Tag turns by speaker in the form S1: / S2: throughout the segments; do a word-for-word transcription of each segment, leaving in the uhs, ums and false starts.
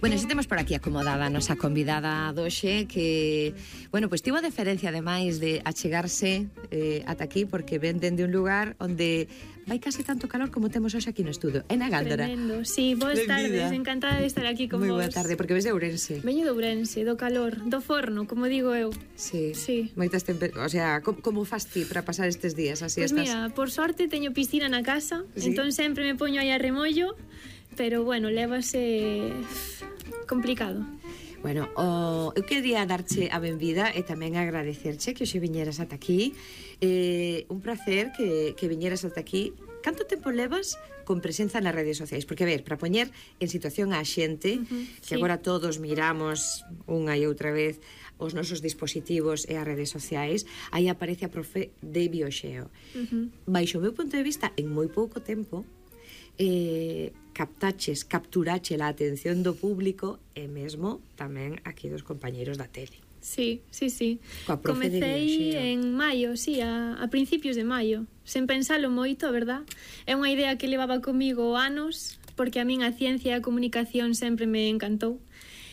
S1: Bueno, xa temos por aquí acomodada a nosa convidada doxe que, bueno, pois tivo a deferencia ademais de achegarse eh, ata aquí porque ven dende un lugar onde vai casi tanto calor como temos hoxe aquí no estudio. É na Gándara.
S2: Tremendo, sí, boas tardes, encantada de estar aquí con
S1: Moi
S2: vos.
S1: boa tarde, porque ves de Ourense.
S2: Veño de Ourense, do calor, do forno, como digo eu.
S1: Sí,
S2: sí.
S1: Moitas temper... O sea, como, como fas ti para pasar estes días? Así
S2: Pois pues
S1: estás...
S2: mira, por sorte teño piscina na casa,
S1: ¿Sí?
S2: entón sempre me poño aí a remollo, pero bueno, lévase complicado.
S1: Bueno, o, eu quería darche a benvida e tamén agradecerche que hoxe viñeras ata aquí. Eh, un placer que, que viñeras ata aquí. Canto tempo levas con presenza nas redes sociais? Porque, a ver, para poñer en situación a xente, uh-huh, que sí. Agora todos miramos unha e outra vez os nosos dispositivos e as redes sociais, aí aparece a profe de Bioxeo. Uh-huh. Baixo o meu punto de vista, en moi pouco tempo, eh, captaches, capturache a atención do público e mesmo tamén aquí dos compañeiros da tele.
S2: Sí, sí, sí.
S1: Comecei
S2: en maio, sí, a, a principios de maio, sen pensalo moito, a verdad. É unha idea que levaba comigo anos, porque a min a ciencia e a comunicación sempre me encantou.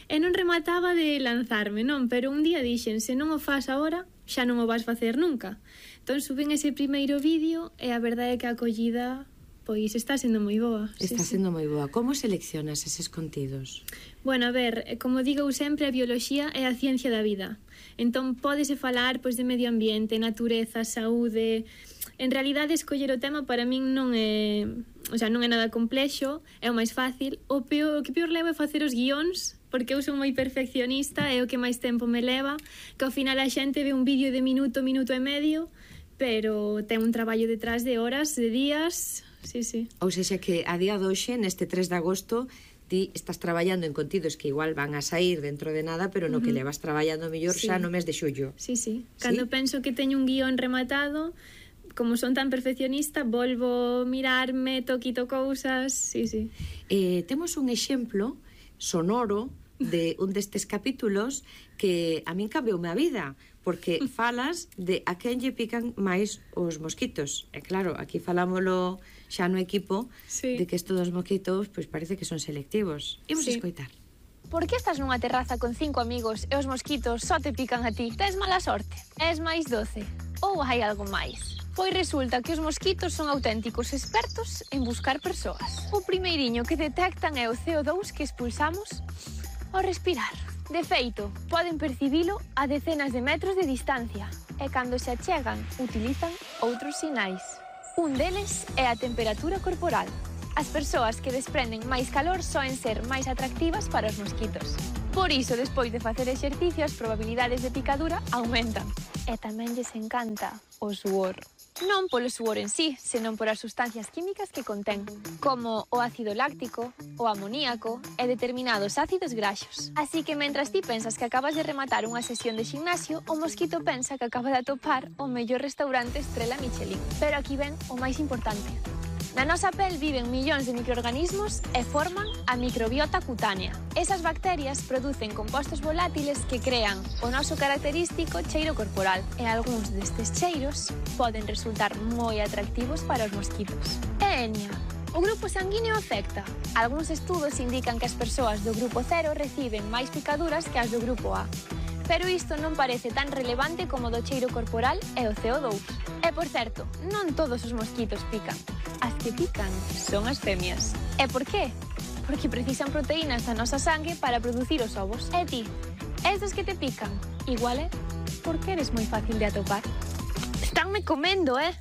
S2: E non remataba de lanzarme, non? Pero un día dixen, se non o fas agora, xa non o vas facer nunca. Entón subín ese primeiro vídeo e a verdade é que a acollida... Pois está sendo moi boa.
S1: Está
S2: sí,
S1: sendo
S2: sí.
S1: moi boa. Como seleccionas eses contidos?
S2: Bueno, a ver, como digo sempre, a bioloxía é a ciencia da vida. Entón, pódese falar pois, de medio ambiente, natureza, saúde... En realidade, escoller o tema para min non é... O sea, non é nada complexo, é o máis fácil. O, peor, o que peor leva é facer os guións, porque eu son moi perfeccionista, é o que máis tempo me leva, que ao final a xente ve un vídeo de minuto, minuto e medio, pero ten un traballo detrás de horas, de días... Sí, sí.
S1: Ou seja que a día doxe, neste tres de agosto, ti estás traballando en contidos que igual van a sair dentro de nada, pero no uh-huh. que levas traballando mellor sí. xa no mes de xullo.
S2: Sí, sí. Cando ¿Sí? penso que teño un guión rematado, como son tan perfeccionista, volvo mirarme, toquito cousas, sí, sí.
S1: Eh, temos un exemplo sonoro de un destes capítulos que a min cambioume a vida, porque falas de a quen lle pican máis os mosquitos. E claro, aquí falámolo xa no equipo sí. de que estes dos mosquitos pois parece que son selectivos. Imos sí. a escoitar.
S3: Por que estás nunha terraza con cinco amigos e os mosquitos só te pican a ti? Tes mala sorte? És máis doce? Ou hai algo máis? Pois resulta que os mosquitos son auténticos expertos en buscar persoas. O primeiriño que detectan é o C O dous que expulsamos ao respirar. De feito, poden percibilo a decenas de metros de distancia e cando se achegan utilizan outros sinais. Un deles é a temperatura corporal. As persoas que desprenden máis calor soen ser máis atractivas para os mosquitos. Por iso, despois de facer exercicio, as probabilidades de picadura aumentan. E tamén lles encanta o suor. Non polo suor en sí, senón por as sustancias químicas que contén, como o ácido láctico, o amoníaco e determinados ácidos graxos. Así que mentras ti pensas que acabas de rematar unha sesión de gimnasio, o mosquito pensa que acaba de atopar o mellor restaurante estrela Michelin. Pero aquí ven o máis importante. Na nosa pel viven millóns de microorganismos e forman a microbiota cutánea. Esas bacterias producen compostos volátiles que crean o noso característico cheiro corporal e algúns destes cheiros poden resultar moi atractivos para os mosquitos. E Enia, o grupo sanguíneo afecta. Algúns estudos indican que as persoas do grupo cero reciben máis picaduras que as do grupo A. Pero isto non parece tan relevante como do cheiro corporal e o C O dous. E, por certo, non todos os mosquitos pican. As que pican son as femias. E por qué? Porque precisan proteínas da nosa sangue para producir os ovos. E ti, estes que te pican, igual é porque eres moi fácil de atopar. Estánme comendo, eh?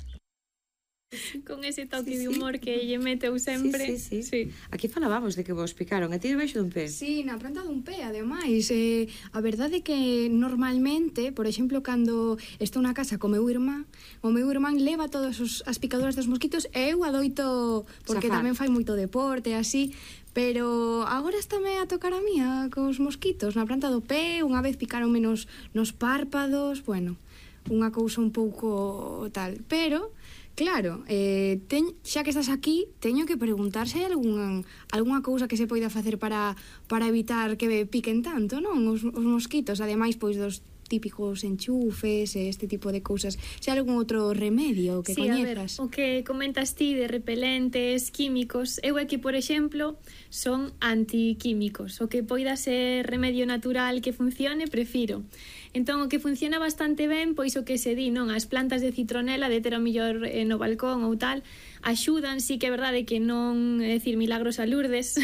S2: Con ese toque sí, de humor sí. que lle meteu sempre.
S1: Sí, sí, sí. sí. Aquí falábamos de que vos picaron. A ti debaixo dun pé?
S4: Sí, na planta dun pé, ademais. Eh, a verdade é que normalmente, por exemplo, cando estou na casa co meu irmán, o meu irmán leva todas os, as picaduras dos mosquitos e eu adoito, porque Zafar. tamén fai moito deporte, así, pero agora estáme a tocar a mía cos mosquitos na planta do pé, unha vez picaron menos nos párpados, bueno, unha cousa un pouco tal, pero... Claro, eh, ten, xa que estás aquí, teño que preguntar se hai algún, algunha cousa que se poida facer para, para evitar que piquen tanto, non? Os, os mosquitos, ademais, pois, dos típicos enchufes e este tipo de cousas. Se hai algún outro remedio que
S2: sí,
S4: coñezas?
S2: A ver, o que comentas ti de repelentes químicos, eu é que, por exemplo, son antiquímicos. O que poida ser remedio natural que funcione, prefiro. Entón, o que funciona bastante ben, pois o que se di, non? As plantas de citronela, de ter o millor eh, no balcón ou tal, axudan, sí que é verdade que non, é dicir, milagros a Lourdes,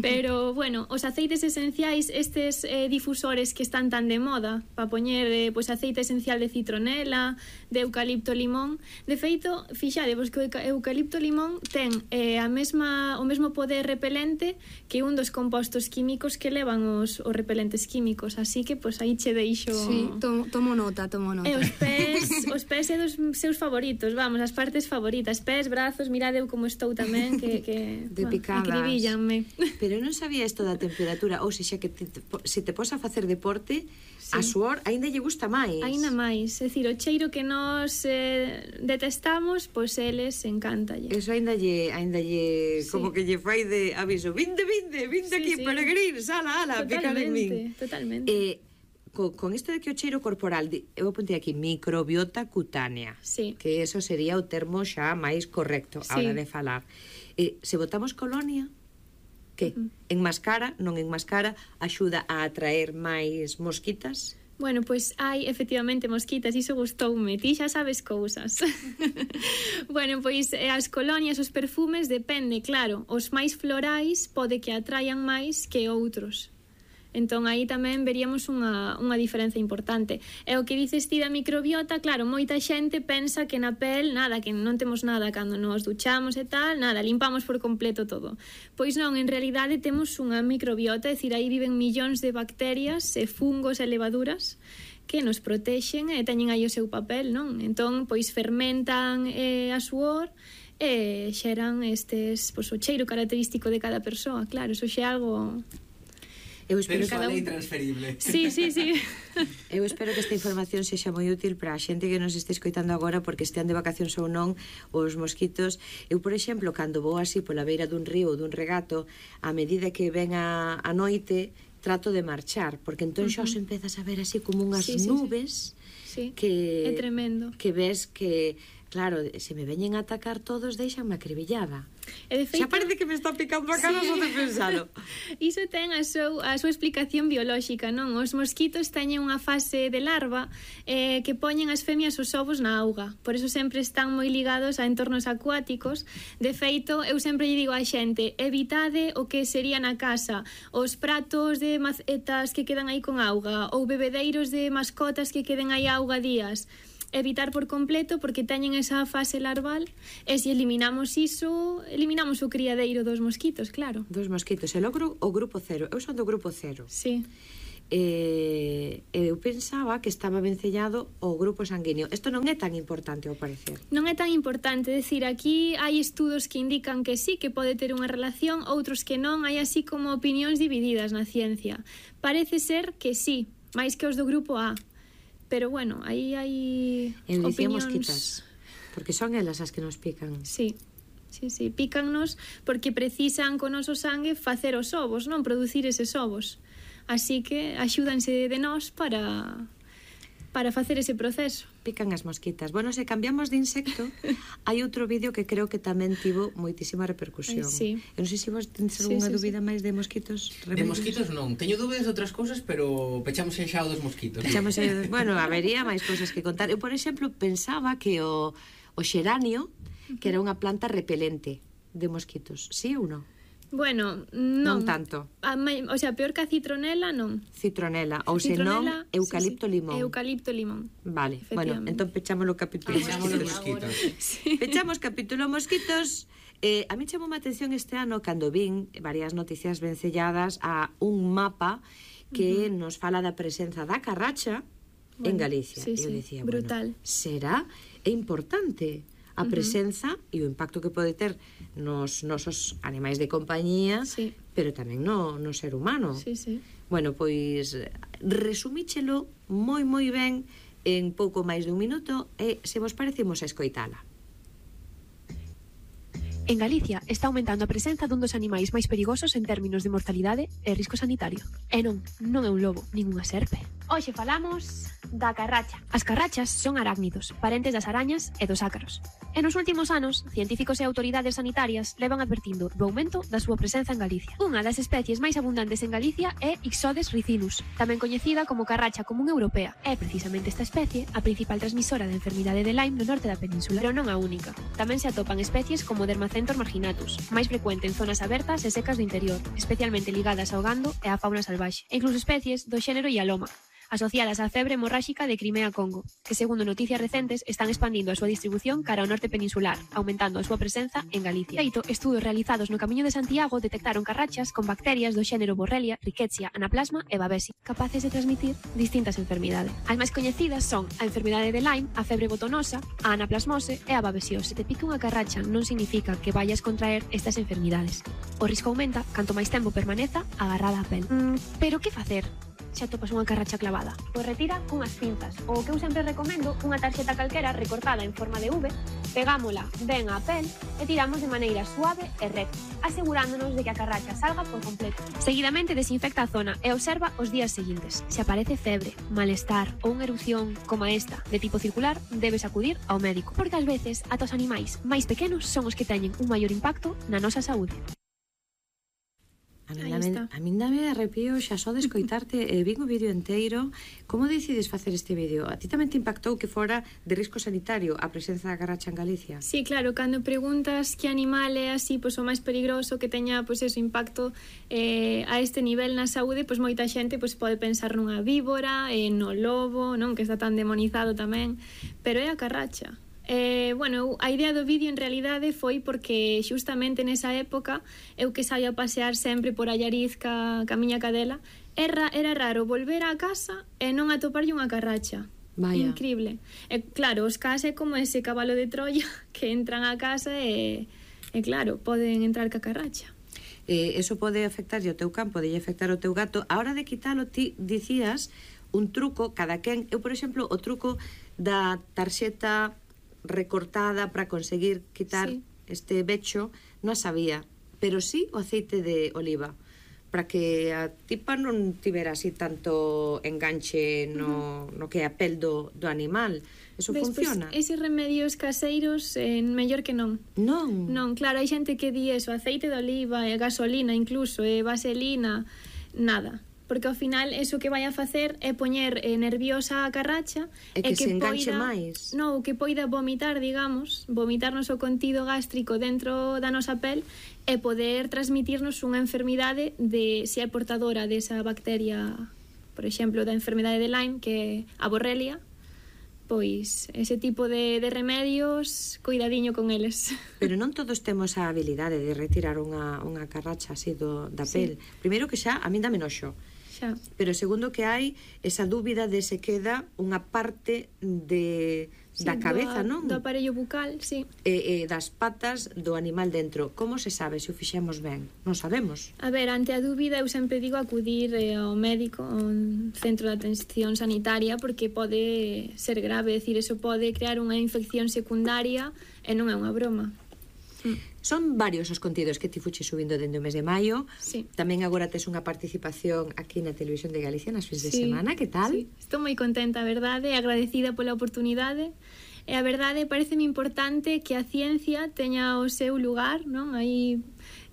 S2: pero, bueno, os aceites esenciais, estes eh, difusores que están tan de moda, para poñer eh, pois, aceite esencial de citronela, de eucalipto limón, de feito, fixadevos que o eucalipto limón ten eh, a mesma, o mesmo poder repelente que un dos compostos químicos que levan os, os repelentes químicos, así que, pois, aí che deixo.
S4: Sí, tomo, tomo nota, tomo nota.
S2: E os pés, os pés é dos seus favoritos, vamos, as partes favoritas, pés, brazos, mirade eu como estou tamén, que, que
S1: de picadas.
S2: Acribíllanme.
S1: Pero non sabía isto da temperatura, ou sexa que te, te, se te pos a facer deporte, sí, a suor aínda lle gusta máis.
S2: Aínda máis, é dicir, o cheiro que nos eh, detestamos, pois eles encántalle.
S1: Eso aínda lle, aínda lle,
S2: Sí.
S1: como que lle fai de aviso, vinde, vinde, vinde
S2: Sí,
S1: aquí,
S2: sí.
S1: peregrins, ala, ala, picar en min.
S2: Totalmente, totalmente.
S1: Eh, con, con isto de que o cheiro corporal, di- eu apuntei aquí, microbiota cutánea,
S2: Sí.
S1: que eso sería o termo xa máis correcto a
S2: Sí.
S1: hora de falar. Eh, se botamos colonia, que?
S2: Uh-huh.
S1: Enmascara, non enmascara, axuda a atraer máis mosquitas?
S2: Bueno, pois hai efectivamente mosquitas, iso gustoume, ti xa sabes cousas. Bueno, pois eh, as colonias, os perfumes, depende, claro, os máis florais pode que atraian máis que outros. Entón, aí tamén veríamos unha, unha diferenza importante. E o que dices ti da microbiota, claro, moita xente pensa que na pel, nada, que non temos nada cando nos duchamos e tal, nada, limpamos por completo todo. Pois non, en realidade temos unha microbiota, é dicir, aí viven millóns de bacterias e fungos e levaduras que nos protexen e teñen aí o seu papel, non? Entón, pois fermentan eh, a suor e xeran estes, pois, o cheiro característico de cada persoa, claro, eso xa é algo...
S1: Eu espero,
S5: Persoal
S1: que,
S5: e transferible.
S2: Sí, sí, sí.
S1: eu espero que esta información sexa moi útil para a xente que nos este escoitando agora, porque estean de vacacións ou non, os mosquitos. Eu, por exemplo, cando vou así pola beira dun río ou dun regato, a medida que ven a, a noite, trato de marchar, porque entón xa os empezas a ver así como unhas
S2: Sí, sí, sí.
S1: nubes
S2: Sí,
S1: que,
S2: é tremendo.
S1: que ves que, claro, se me veñen a atacar todos, deixanme acribillada.
S2: E de feito,
S1: Xa parece que me está picando a cara só de pensalo.
S2: iso ten a, seu, a súa explicación biolóxica, non? Os mosquitos teñen unha fase de larva eh, que poñen as femias os ovos na auga. Por eso sempre están moi ligados a entornos acuáticos. De feito, eu sempre lle digo á xente, evitade o que sería na casa os pratos de macetas que quedan aí con auga ou bebedeiros de mascotas que queden aí auga días. Evitar por completo porque teñen esa fase larval e se eliminamos iso, eliminamos o criadeiro dos mosquitos, claro.
S1: Dos mosquitos. E logo o grupo cero. Eu son do grupo cero.
S2: Sí.
S1: Eh, eu pensaba que estaba vencellado o grupo sanguíneo. Isto non é tan importante, ao parecer.
S2: Non é tan importante, decir, aquí hai estudos que indican que sí, que pode ter unha relación, outros que non, hai así como opinións divididas na ciencia. Parece ser que sí, máis que os do grupo A. Pero bueno, aí hai
S1: Eu dicía
S2: opinións...
S1: mosquitas, porque son elas as que nos pican.
S2: Sí, sí, sí, pícannos porque precisan con noso sangue facer os ovos, non producir eses ovos. Así que axúdanse de nós para para facer ese proceso.
S1: Pican as mosquitas. Bueno, se cambiamos de insecto, hai outro vídeo que creo que tamén tivo moitísima repercusión.
S2: Ai, sí.
S1: Eu non sei se vos tenes
S2: Sí,
S1: algunha
S2: sí,
S1: dúbida máis de mosquitos.
S5: De mosquitos non. Teño dúbidas de outras cousas, pero pechamos xa o dos mosquitos.
S1: Echamos, eh, bueno, habería máis cousas que contar. Eu, por exemplo, pensaba que o, o xeranio, que era unha planta repelente de mosquitos. Sí ou non?
S2: Bueno, non.
S1: Non tanto.
S2: A, o sea, peor que a citronela, non.
S1: Citronela, ou senón
S2: Citronela,
S1: eucalipto
S2: sí, sí.
S1: limón.
S2: Eucalipto limón.
S1: Vale, bueno,
S2: Efectivamente.
S1: entón pechamos o capítulo
S5: Pechamos os
S1: mosquitos.
S5: mosquitos.
S2: Sí.
S1: Pechamos capítulo mosquitos. Eh, a mí chamou a atención este ano cando vin varias noticias vencelladas a un mapa que uh -huh. nos fala da presenza da carracha bueno, en Galicia.
S2: Sí,
S1: E eu
S2: sí,
S1: dicía,
S2: brutal.
S1: bueno, será é importante a presenza uh -huh. e o impacto que pode ter nos nosos animais de compañía,
S2: Sí.
S1: pero tamén no, no ser humano.
S2: Sí, sí.
S1: Bueno, pois resumíchelo moi moi ben en pouco máis dun minuto e se vos parecemos a escoitala.
S6: En Galicia está aumentando a presenza dun dos animais máis perigosos en términos de mortalidade e risco sanitario. E non, non é un lobo, nin unha serpe.
S3: Hoxe falamos da carracha.
S6: As carrachas son arácnidos, parentes das arañas e dos ácaros. E nos últimos anos, científicos e autoridades sanitarias levan advertindo do aumento da súa presenza en Galicia. Unha das especies máis abundantes en Galicia é Ixodes ricinus, tamén coñecida como carracha común europea. É precisamente esta especie a principal transmisora da enfermidade de Lyme no norte da península, pero non a única. Tamén se atopan especies como Dermacentor marginatus, máis frecuente en zonas abertas e secas do interior, especialmente ligadas ao gando e á fauna salvaxe, e incluso especies do xénero Ialoma, asociadas á febre hemorráxica de Crimea-Congo, que segundo noticias recentes están expandindo a súa distribución cara ao norte peninsular, aumentando a súa presenza en Galicia. De feito, estudos realizados no Camiño de Santiago detectaron carrachas con bacterias do xénero Borrelia, Rickettsia, Anaplasma e Babesi, capaces de transmitir distintas enfermidades. As máis coñecidas son a enfermidade de Lyme, a febre botonosa, a anaplasmose e a babesiose. Se te pica unha carracha non significa que vayas contraer estas enfermidades. O risco aumenta canto máis tempo permaneza agarrada á pel. Mm, pero que facer se atopas unha carracha clavada?
S3: Pois retira cunhas pinzas, ou o que eu sempre recomendo, unha tarxeta calquera recortada en forma de V, pegámola ben á pel e tiramos de maneira suave e recta, asegurándonos de que a carracha salga por completo.
S6: Seguidamente desinfecta a zona e observa os días seguintes. Se aparece febre, malestar ou unha erupción como esta de tipo circular, debes acudir ao médico, porque ás veces ata os animais máis pequenos son os que teñen un maior impacto na nosa saúde.
S1: A min, dame, a min dame arrepío xa só de escoitarte e eh, vin o vídeo enteiro. Como decides facer este vídeo? A ti tamén te impactou que fora de risco sanitario a presenza da carracha en Galicia?
S2: Sí, claro, cando preguntas que animal é así, pois o máis peligroso que teña pois ese impacto eh, a este nivel na saúde, pois moita xente pois pode pensar nunha víbora, eh, no lobo, non, que está tan demonizado tamén, pero é a carracha. Eh, bueno, a idea do vídeo en realidade foi porque xustamente nesa época eu que saio a pasear sempre por Allariz ca, ca miña cadela, era, era raro volver á casa e non atoparlle unha carracha.
S1: Vaya.
S2: Increíble. E claro, os cas é como ese cabalo de Troia que entran á casa e, e claro, poden entrar ca carracha.
S1: Eh, eso pode afectar o teu campo, pode afectar o teu gato. A hora de quitalo, ti dicías un truco, cada quen, eu por exemplo, o truco da tarxeta recortada para conseguir quitar sí. este becho non a sabía, pero sí o aceite de oliva para que a tipa non tivera así tanto enganche no, uh-huh. no que é a pel do, do animal. Eso
S2: ves,
S1: funciona?
S2: Pues, eses remedios caseiros eh, mellor que non.
S1: Non?
S2: Non, claro, hai xente que di eso, aceite de oliva, e gasolina incluso, e vaselina, nada. Porque ao final eso que vai a facer é poñer eh, nerviosa a carracha
S1: e que,
S2: e que
S1: se enganche
S2: poida,
S1: máis.
S2: No, que poida vomitar, digamos, vomitarnos o contido gástrico dentro da nosa pel e poder transmitirnos unha enfermidade de se é portadora desa bacteria, por exemplo, da enfermidade de Lyme, que é a Borrelia. Pois ese tipo de, de remedios, cuidadiño con eles.
S1: Pero non todos temos a habilidade de retirar unha, unha carracha así do, da pel. Sí. Primeiro que xa, a min dame noxo.
S2: Xa.
S1: Pero segundo que hai esa dúbida de se queda unha parte de
S2: sí,
S1: da cabeza,
S2: do,
S1: non?
S2: Do aparello bucal, sí.
S1: E, e das patas do animal dentro. Como se sabe se o fixemos ben? Non sabemos.
S2: A ver, ante a dúbida eu sempre digo acudir eh, ao médico, ao centro de atención sanitaria, porque pode ser grave, decir, eso pode crear unha infección secundaria e non é unha broma.
S1: Son varios os contidos que ti fuches subindo dende o mes de maio.
S2: Sí.
S1: Tamén agora tes unha participación aquí na Televisión de Galicia nas fins
S2: sí.
S1: de semana. Que tal?
S2: Sí. Estou moi contenta, a verdade, agradecida pola oportunidade. E a verdade, pareceme importante que a ciencia teña o seu lugar, non? Aí,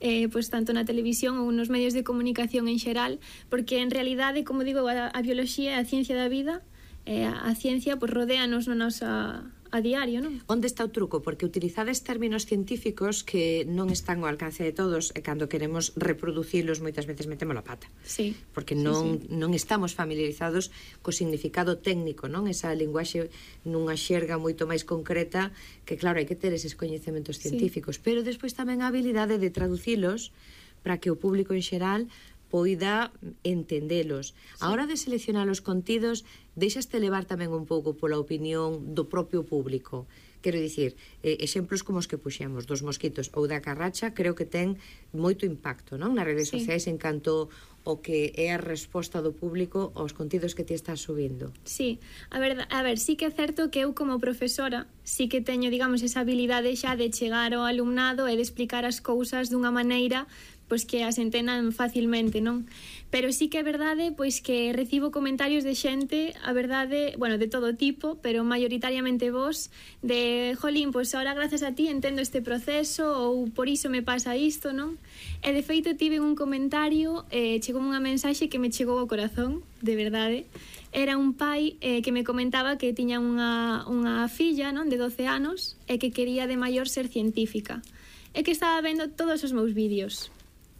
S2: eh, pois, tanto na televisión ou nos medios de comunicación en xeral, porque en realidade, como digo, a, a bioloxía é a ciencia da vida, e a, a ciencia, pois, rodéanos na nosa a diario, non?
S1: Onde está o truco? Porque utilizades términos científicos que non están ao alcance de todos e cando queremos reproducilos moitas veces metemos a pata.
S2: Sí.
S1: Porque non,
S2: sí, sí.
S1: non estamos familiarizados co significado técnico, non? Esa linguaxe nunha xerga moito máis concreta que, claro, hai que ter eses coñecementos científicos. Sí. Pero despois tamén a habilidade de traducilos para que o público en xeral poida entendelos. A hora de seleccionar os contidos, deixaste levar tamén un pouco pola opinión do propio público. Quero dicir, eh, exemplos como os que puxemos dos mosquitos ou da carracha, creo que ten moito impacto, non? Nas redes
S2: Sí.
S1: sociais en canto o que é a resposta do público aos contidos que ti estás subindo.
S2: Sí, a ver, a ver, sí que é certo que eu como profesora sí que teño, digamos, esa habilidade xa de chegar ao alumnado e de explicar as cousas dunha maneira pois que as entendan facilmente, non? Pero sí que é verdade pois que recibo comentarios de xente, a verdade, bueno, de todo tipo, pero maioritariamente vos, de, jolín, pois ahora grazas a ti entendo este proceso ou por iso me pasa isto, non? E de feito tive un comentario, eh, chegou unha mensaxe que me chegou ao corazón, de verdade. Era un pai eh, que me comentaba que tiña unha, unha filla, non, de doce anos e que quería de maior ser científica e que estaba vendo todos os meus vídeos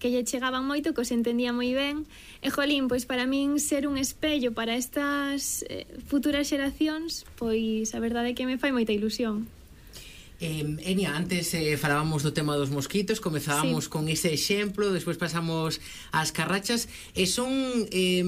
S2: que lle chegaban moito, que os entendía moi ben e, jolín, pois para min ser un espello para estas eh, futuras xeracións, pois a verdade é que me fai moita ilusión.
S5: Eh, Enia, antes eh, falábamos do tema dos mosquitos, comezábamos sí. con ese exemplo, despois pasamos ás carrachas, e son eh,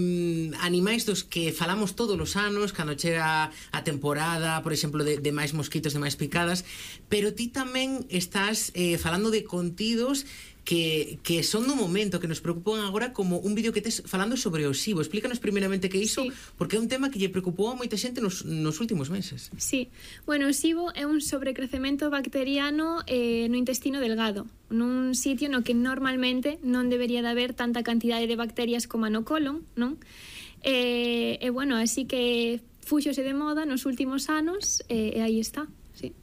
S5: animais dos que falamos todos os anos, cando chega a temporada, por exemplo, de, de máis mosquitos, de máis picadas, pero ti tamén estás eh, falando de contidos que, que son no momento, que nos preocupan agora, como un vídeo que tes falando sobre o SIBO. Explícanos primeiramente que iso, sí. porque é un tema que lle preocupou a moita xente nos, nos últimos meses.
S2: Sí, bueno, o SIBO é un sobrecrecemento bacteriano eh, no intestino delgado, nun sitio no que normalmente non debería de haber tanta cantidade de bacterias como no colon, non? E, e bueno, así que fúxose de moda nos últimos anos e, e aí está, sí.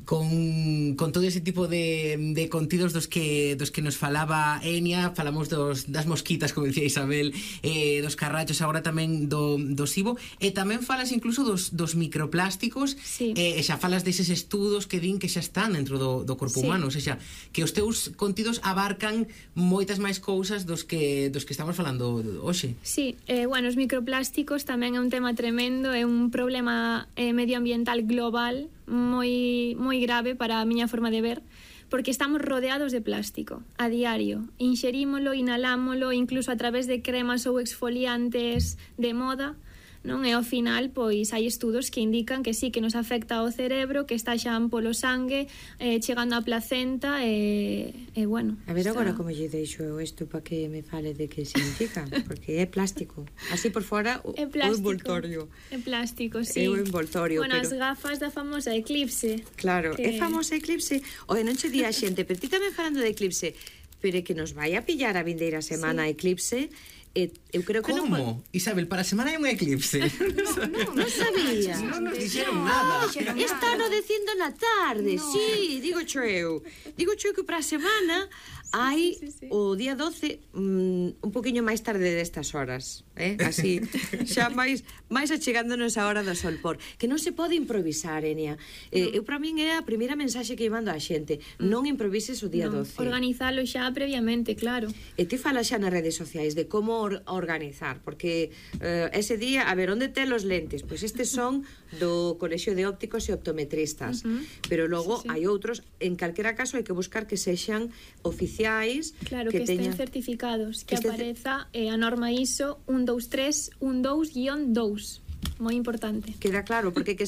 S5: Con, con todo ese tipo de, de contidos dos que dos que nos falaba Enia, falamos dos, das mosquitas, como dicía Isabel, eh, dos carrachos, agora tamén do, do SIBO, e tamén falas incluso dos, dos microplásticos,
S2: sí.
S5: e, e xa falas deses estudos que din que xa están dentro do, do corpo
S2: sí.
S5: humano, ou seja, que os teus contidos abarcan moitas máis cousas dos que, dos que estamos falando hoxe.
S2: Sí, eh, bueno, os microplásticos tamén é un tema tremendo, é un problema eh, medioambiental global moi moi grave para a miña forma de ver, porque estamos rodeados de plástico a diario, inxerímolo, inhalámolo, incluso a través de cremas ou exfoliantes de moda, non? E ao final, pois, hai estudos que indican que sí, que nos afecta ao cerebro, que está xa polo sangue, eh, chegando á placenta, e, e bueno...
S1: A ver
S2: está...
S1: agora como lle deixo eu isto para que me fale de que significa, porque é plástico. Así por fora, o,
S2: é plástico,
S1: o envoltorio.
S2: É plástico, sí.
S1: É o envoltorio,
S2: bueno,
S1: pero...
S2: as gafas da famosa Eclipse.
S1: Claro,
S2: que...
S1: é famosa Eclipse. Oe, non che di a xente, pero ti tamén falando de Eclipse, pero é que nos vai a pillar a vindeira semana
S2: sí.
S1: Eclipse. E, eu creo que
S5: Como?
S1: non...
S5: Isabel, para a semana hai un eclipse.
S1: Non, non sabía.
S5: Non nos dixeron nada.
S1: Estano dicindo na tarde, no. Sí, digo cho eu. Digo cho eu que para a semana hai sí, sí, sí. o día doce um, un poquinho máis tarde destas horas, eh? Así, xa máis máis achegándonos a hora do solpor, que non se pode improvisar, Enia. Eh, no. Eu para min é a primeira mensaxe que mando á xente, non improvises o día
S2: no,
S1: doce.
S2: Organizalo xa previamente, claro.
S1: E ti falas xa nas redes sociais de como or organizar, porque eh, ese día, a ver, onde ten os lentes? Pois estes son do Colexio de Ópticos e Optometristas, uh -huh. pero logo sí, sí. hai outros, en calquera caso hai que buscar que sexan oficiais.
S2: Claro, que, que estén certificados, que, que apareza eh, a norma I S O un, dous, tres, un, dous guión dous. Moi importante.
S1: Queda claro, porque que